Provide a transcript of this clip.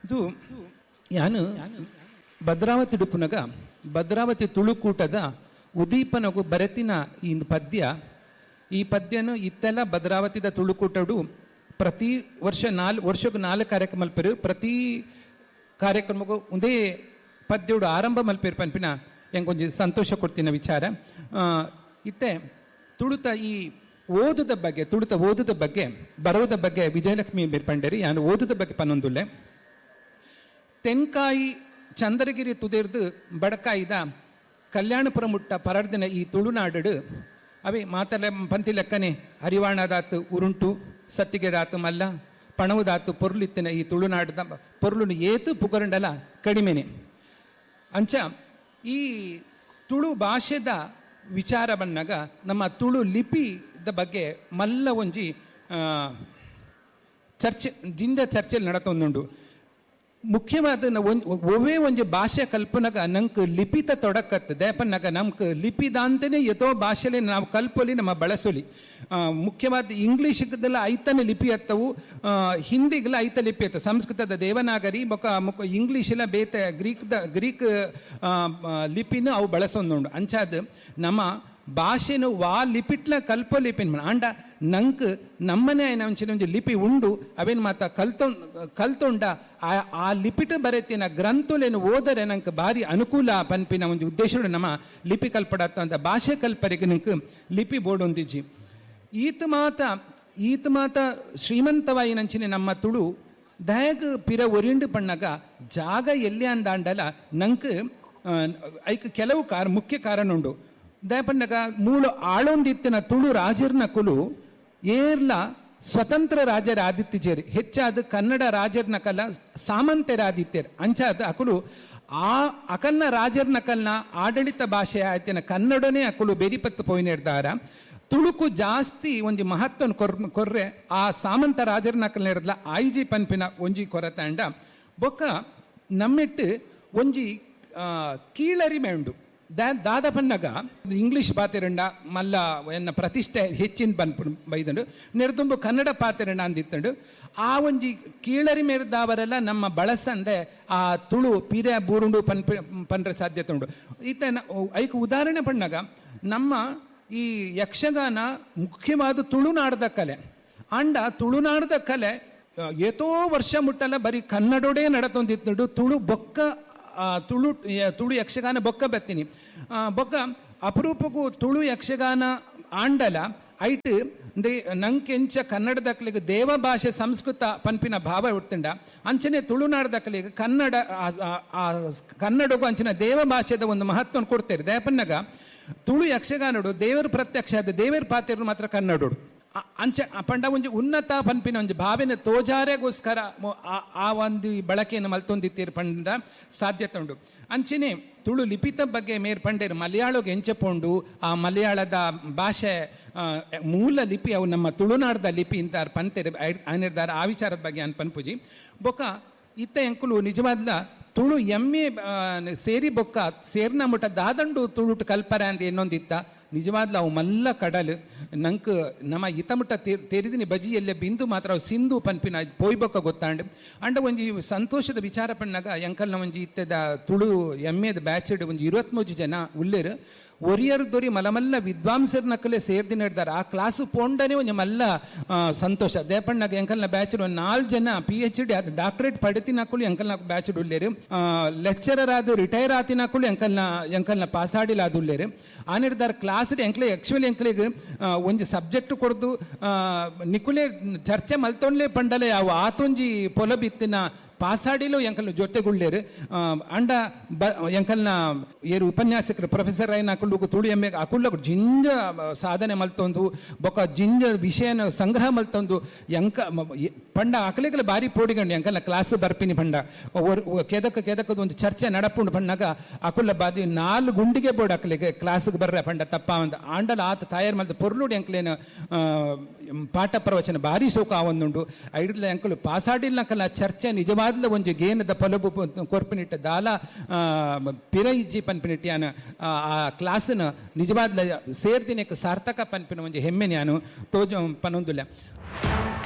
ಇದು ಯಾನು ಭದ್ರಾವತಿ ಡುಪ್ಪುನಗ ಭದ್ರಾವತಿ ತುಳುಕೂಟದ ಉದೀಪನಗು ಬರೆತಿನ ಈ ಪದ್ಯ. ಈ ಪದ್ಯನು ಇತ್ತೆಲ್ಲ ಭದ್ರಾವತಿದ ತುಳುಕೂಟಡು ಪ್ರತಿ ವರ್ಷ 4 ವರ್ಷಕ್ಕೂ 4 ಕಾರ್ಯಕ್ರಮ ಮಲ್ಪೆರು. ಪ್ರತಿ ಕಾರ್ಯಕ್ರಮಕ್ಕೂ ಒಂದೇ ಪದ್ಯೋಡು ಆರಂಭ ಮಲ್ಪೇರು ಪನ್ಪಿನ ಎಂಕೊಂಜಿ ಸಂತೋಷ ಕೊಡ್ತಿನ ವಿಚಾರ. ಇತ್ತೆ ತುಳುತ ಈ ಓದುದ ಬಗ್ಗೆ, ತುಳುತ ಓದುದ ಬಗ್ಗೆ ಬರೋದ ಬಗ್ಗೆ ವಿಜಯಲಕ್ಷ್ಮಿ ಬೇರ್ಪಂಡೇರಿ ಯಾನು ಓದುದ ಬಗ್ಗೆ ಪನ್ನೊಂದುಲ್ಲೆ. ತೆನ್ಕಾಯಿ ಚಂದ್ರಗಿರಿ ತುದಿರ್ದು ಬಡಕಾಯಿದ ಕಲ್ಯಾಣಪುರ ಮುಟ್ಟ ಪರಡ್ದಿನ ಈ ತುಳುನಾಡು ಅವೇ ಮಾತಲೆ ಪಂತಿ ಲೆಕ್ಕನೆ ಹರಿವಾಣದಾತು ಉರುಂಟು ಸತ್ತಿಗೆದಾತು ಮಲ್ಲ ಪಣವುದಾತು ಪೊರ್ಲಿತ್ತಿನ ಈ ತುಳುನಾಡದ ಪೊರ್ಲುನು ಏತು ಪುಗರಂಡಲ ಕಡಿಮೆನೆ. ಅಂಚ ಈ ತುಳು ಭಾಷೆದ ವಿಚಾರ ಬಂದಾಗ ನಮ್ಮ ತುಳು ಲಿಪಿದ ಬಗ್ಗೆ ಮಲ್ಲ ಒಂಜಿ ಚರ್ಚೆ ಜಿಂದ ಚರ್ಚೆಯಲ್ಲಿ ನಡತೊಂದುಂಡು. ಮುಖ್ಯವಾದ ಒವೇ ಒಂಜಿ ಭಾಷೆ ಕಲ್ಪನಾಗ ನಂಗೆ ಲಿಪಿತ ತೊಡಕತ್ತೆ ದೇಪನ್ನಾಗ ನಮ್ಗೆ ಲಿಪಿದಾಂತನೇ ಯಥೋ ಭಾಷೆಲಿ ನಾವು ಕಲ್ಪೊಲಿ ನಮ್ಮ ಬಳಸೊಲಿ. ಮುಖ್ಯವಾದ ಇಂಗ್ಲೀಷ್ದೆಲ್ಲ ಐತನೇ ಲಿಪಿ ಅತ್ತವು, ಹಿಂದಿಗೆಲ್ಲ ಐತ ಲಿಪಿ ಅತ್ತ, ಸಂಸ್ಕೃತದ ದೇವನಾಗರಿ ಬೊಕ ಮುಖ ಇಂಗ್ಲೀಷೆಲ್ಲ ಬೇತೆ ಗ್ರೀಕ್ ಲಿಪಿನೂ ಅವು ಬಳಸೊಂದುಂಡು. ಅಂಚಾದ ನಮ್ಮ ಭಾಷೆನು ವಾ ಲಿಪಿಟ್ಲ ಕಲ್ಪೋ ಲಿಪಿನ ಆಂಡ ನಂಕ್ ನಮ್ಮನೆ ಒಂಚಿನ ಒಂಜಿ ಲಿಪಿ ಉಂಡು ಅವೇನು ಮಾತ ಕಲ್ತೊಂಡ ಆ ಲಿಪಿಟ್ ಬರೆತಿನ ಗ್ರಂಥಲೇನು ಓದರೆ ನಂಗೆ ಭಾರಿ ಅನುಕೂಲ ಪನ್ಪಿನ ಒಂದು ಉದ್ದೇಶ ನಮ್ಮ ಲಿಪಿ ಕಲ್ಪಡತ್ತ ಅಂತ ಭಾಷೆ ಕಲ್ಪರಿಗೆ ನಂಗೆ ಲಿಪಿ ಬೋರ್ಡ್ ಒಂದಿಜ್ಜಿ. ಈತ ಮಾತ ಶ್ರೀಮಂತವಾಯಿನಂಚಿನ ನಮ್ಮ ತುಳು ದಯಗ್ ಪಿರ ಒರಿಂಡು ಪಣ್ಣಾಗ ಜಾಗ ಎಲ್ಲಿ ಅಂದಾಂಡಲ ನಂಗೆ ಐಕ್ ಕೆಲವು ಮುಖ್ಯ ಕಾರಣ ಉಂಡು. ದಯಪಣ್ಣಗ ಮೂಲ ಆಳೊಂದಿತ್ತಿನ ತುಳು ರಾಜರ್ನ ಕುಲು ಏರ್ಲ ಸ್ವತಂತ್ರ ರಾಜರ ಆದಿತ್ಯಜೇರಿ ಹೆಚ್ಚಾದ ಕನ್ನಡ ರಾಜರ್ನ ಕಲ ಸಾಮಂತರಾದಿತ್ಯರು. ಅಂಚಾದ ಅಕುಲು ಆ ಅಕಲ್ನ ರಾಜರ್ನ ಕಲ್ನ ಆಡಳಿತ ಭಾಷೆ ಆಯ್ತಿನ ಕನ್ನಡನೇ ಅಕುಲು ಬೆರಿಪತ್ತು ಪೋಯಿನಿರ್ದಾರ. ತುಳುಕು ಜಾಸ್ತಿ ಒಂಜಿ ಮಹತ್ವನ ಕೊರ್ರೆ ಆ ಸಾಮಂತ ರಾಜರ್ನ ಕಲ್ನ ಇರದ್ಲ ಆಯ್ಜಿ ಪನ್ಪಿನ ಒಂಜಿ ಕೊರತಾಂಡ ಬೊಕ್ಕ ನಮ್ಮಿಟ್ಟು ಒಂಜಿ ಕೀಳರಿಮೆ ಉಂಡು. ದಾದ ಪನ್ನಗ ಇಂಗ್ಲೀಷ್ ಪಾತಿರಂಡ ಮಲ್ಲ ಎನ್ನ ಪ್ರತಿಷ್ಠೆ ಹೆಚ್ಚಿನ ಬನ್ಪು ಬೈದಂಡು ನೆರೆದುಂಬು ಕನ್ನಡ ಪಾತಿರಂಡ ಅಂದಿತ್ತಂಡು ಆ ಒಂಜಿ ಕೀಳರಿಮೆರ್ದಾವರೆಲ್ಲ ನಮ್ಮ ಬಳಸಂದೆ ಆ ತುಳು ಪೀರೆ ಬೂರುಂಡು ಪನ್ರೆ ಸಾಧ್ಯತೆ ಉಂಡು. ಈತ ಐಕ್ ಉದಾಹರಣೆ ಪಣ್ಣಾಗ ನಮ್ಮ ಈ ಯಕ್ಷಗಾನ ಮುಖ್ಯವಾದ ತುಳುನಾಡದ ಕಲೆ. ಅಂಡ ತುಳುನಾಡದ ಕಲೆ ಏತೋ ವರ್ಷ ಮುಟ್ಟಲ್ಲ ಬರೀ ಕನ್ನಡೋಡೇ ನಡತೊಂದಿತ್ತಂಡು. ತುಳು ಬೊಕ್ಕ ತುಳು ತುಳು ಯಕ್ಷಗಾನ ಬೊಕ್ಕ ಬತ್ತೀನಿ ಬೊಕ್ಕ ಅಪರೂಪಕ್ಕೂ ತುಳು ಯಕ್ಷಗಾನ ಆಂಡಲ ಐಟ್ ನಂಕೆಂಚ ಕನ್ನಡದಕ್ಕಲಿಗೆ ದೇವ ಭಾಷೆ ಸಂಸ್ಕೃತ ಪನ್ಪಿನ ಭಾವ ಉಡ್ತಂಡ ಅಂಚನೆ ತುಳುನಾಡದಕ್ಕಲಿಗೆ ಕನ್ನಡ ಕನ್ನಡಗೂ ಅಂಚಿನ ದೇವ ಭಾಷೆದ ಒಂದು ಮಹತ್ವವನ್ನು ಕೊಡ್ತೇವೆ. ದಯಪನ್ನಾಗ ತುಳು ಯಕ್ಷಗಾನಡು ದೇವರು ಪ್ರತ್ಯಕ್ಷ ಆದ ದೇವರ ಪಾತ್ರ ಮಾತ್ರ ಕನ್ನಡೋಡು ಅಂಚ ಪಂಡ ಒಂಜಿ ಉನ್ನತ ಪನ್ಪಿನ ಒಂಜಿ ಭಾವನೆ ತೋಜಾರೆಗೋಸ್ಕರ ಆ ಒಂದು ಬಳಕೆಯನ್ನು ಮಲ್ತೊಂದಿತ್ತೀರು ಪಂಡ ಸಾಧ್ಯತೆ ಉಂಡು. ಅಂಚನೆ ತುಳು ಲಿಪಿತ ಬಗ್ಗೆ ಮೇರ್ ಪಂಡೇರು ಮಲಯಾಳಗೆ ಎಂಚಪೋಂಡು ಆ ಮಲಯಾಳದ ಭಾಷೆ ಮೂಲ ಲಿಪಿ ಅವು ನಮ್ಮ ತುಳುನಾಡದ ಲಿಪಿ ಅಂತ ಪಂತೇರು ಅನಿರ್ದಾರ ಆ ವಿಚಾರದ ಬಗ್ಗೆ ಅನ್ ಪನ್ಪುಜಿ. ಬೊಕ್ಕ ಇತ್ತ ಎಂಕುಲು ನಿಜವಾದ್ಲ ತುಳು ಎಮ್ಮೆ ಸೇರಿ ಬೊಕ್ಕ ಸೇರ್ನ ಮುಟ್ಟ ದಾದಂಡು ತುಳುಟು ಕಲ್ಪರ ಅಂತ ಇನ್ನೊಂದಿತ್ತ ನಿಜವಾದ್ಲ ಅವು ಮಲ್ಲ ಕಡಲು ನಂಗೆ ನಮ್ಮ ಇತಮುಟ್ಟ ತೆರಿದಿನಿ ಬಜಿಯಲ್ಲೇ ಬಿಂದು ಮಾತ್ರ ಅವು ಸಿಂಧು ಪನ್ಪಿನ ಪೋಯ್ಬೊಕ್ಕ ಗೊತ್ತಾಂಡು. ಅಂಡ ಒಂಜಿ ಸಂತೋಷದ ವಿಚಾರ ಪಣ್ಣಾಗ ಎಂಕಲ್ನ ಒಂಜಿ ಇತ್ತದ ತುಳು ಎಮ್ಮೆದ ಬ್ಯಾಚಡ್ ಒಂಜಿ 23 ಜನ ಉಲ್ಲೇರು ಒರಿಯರ್ ದೊರಿ ಮಲಮಲ್ಲ ವಿದ್ವಾಂಸರ್ನಕ್ಕಲೇ ಸೇರ್ದಿನ ಹಿಡ್ದಾರೆ. ಆ ಕ್ಲಾಸು ಪೋಂಡನೆ ಒಂಜಿ ಮಲ್ಲ ಸಂತೋಷ. ದೇಪಣ್ಣಗ ಎಂಕಲ್ನ ಬ್ಯಾಚ್ ಒಂದು 4 ಜನ PhD ಅದು ಡಾಕ್ಟರೇಟ್ ಪಡೆತಿನಕ್ಕಲು ಎಂಕಲ್ನ ಬ್ಯಾಚ್ ಉಲ್ಲೇರು, ಲೆಕ್ಚರರ್ ಆದ ರಿಟೈರ್ ಆತಿನಕ್ಕಲು ಎಂಕಲ್ನ ಪಾಸಾಡಿಲ್ಲ ಅದು ಉಲ್ಲೇರು. ಆ ನಿರ್ಧಾರ ಕ್ಲಾಸ್ ಎಂಕ್ಲೆ ಆಕ್ಚುಲಿ ಎಂಕ್ಲೆಗ್ ಒಂಜಿ ಸಬ್ಜೆಕ್ಟ್ ಕೊಡ್ದು ನಿಕುಲೆ ಚರ್ಚೆ ಮಲ್ತೊಂಡ್ಲೆ ಪಂಡಲೆ ಅವು ಆತೊಂಜಿ ಪೊಲಬಿತ್ತಿನ ಪಾಸಾಡಿಲು ಎಂಕಲ್ನ ಜೊತೆಗುಳ್ಳೇರು. ಅಂಡ ಬ ಎಂಕಲ್ನ ಏರು ಉಪನ್ಯಾಸಕರು ಪ್ರೊಫೆಸರ್ ಆಯ್ನ ಅಕುಲು ತುಳು ಎಮ್ಮೆ ಅಕುಲ್ಲ ಜಿಂಜ ಸಾಧನೆ ಮಲ್ತೊಂದು ಬೊಕ್ಕ ಜಿಂಜ ವಿಷಯನ ಸಂಗ್ರಹ ಮಲ್ತೊಂದು ಎಂಕ ಪಂಡ ಅಕಲೆಗಲ ಬಾರಿ ಪೋಡಿಗಂಡು ಎಂಕಲ್ನ ಕ್ಲಾಸ್ ಬರ್ಪಿನಿ ಪಂಡ ಕೆದಕ ಕೆದಕದ ಒಂದು ಚರ್ಚೆ ನಡಪುಂಡು ಪಣ್ಣಾಗ ಅಕುಲ್ಲ ಬಾದಿ 4 ಗುಂಡಿಗೆ ಬೋರ್ಡ್ ಅಕಲೆಗೆ ಕ್ಲಾಸ್ಗೆ ಬರ್ರೆ ಪಂಡ ತಪ್ಪ ಒಂದು ಆಂಡಲ ಆತ ತಾಯರ್ ಮಲ್ತ ಪೊರ್ಲುಡು ಎಂಕಲೇನು ಪಾಠ ಪ್ರವಚನ ಭಾರಿ ಸೋಕ ಆವೊಂದುಂಡು. ಐಡ್ಲ ಎಂಕಲು ಪಾಸಾಡಿಲ್ಲ ಚರ್ಚೆ ನಿಜವಾದ ಒಂಜಿ ಗೇನದ ಪೊಲಬು ಕೊರ್ಪಿನಿಟ್ಟ ದಾಲ ಪಿರ ಇಜ್ಜಿ ಪನ್ಪಿನಿಟ್ಟ ಯಾನು ಆ ಕ್ಲಾಸನ್ನು ನಿಜವಾದ ಸೇರ್ದಿನಕ್ಕೆ ಸಾರ್ಥಕ ಪನ್ಪಿನ ಒಂಜಿ ಹೆಮ್ಮೆ ನಾನು ತೋಜ ಪನೊಂದುಲ್ಲ.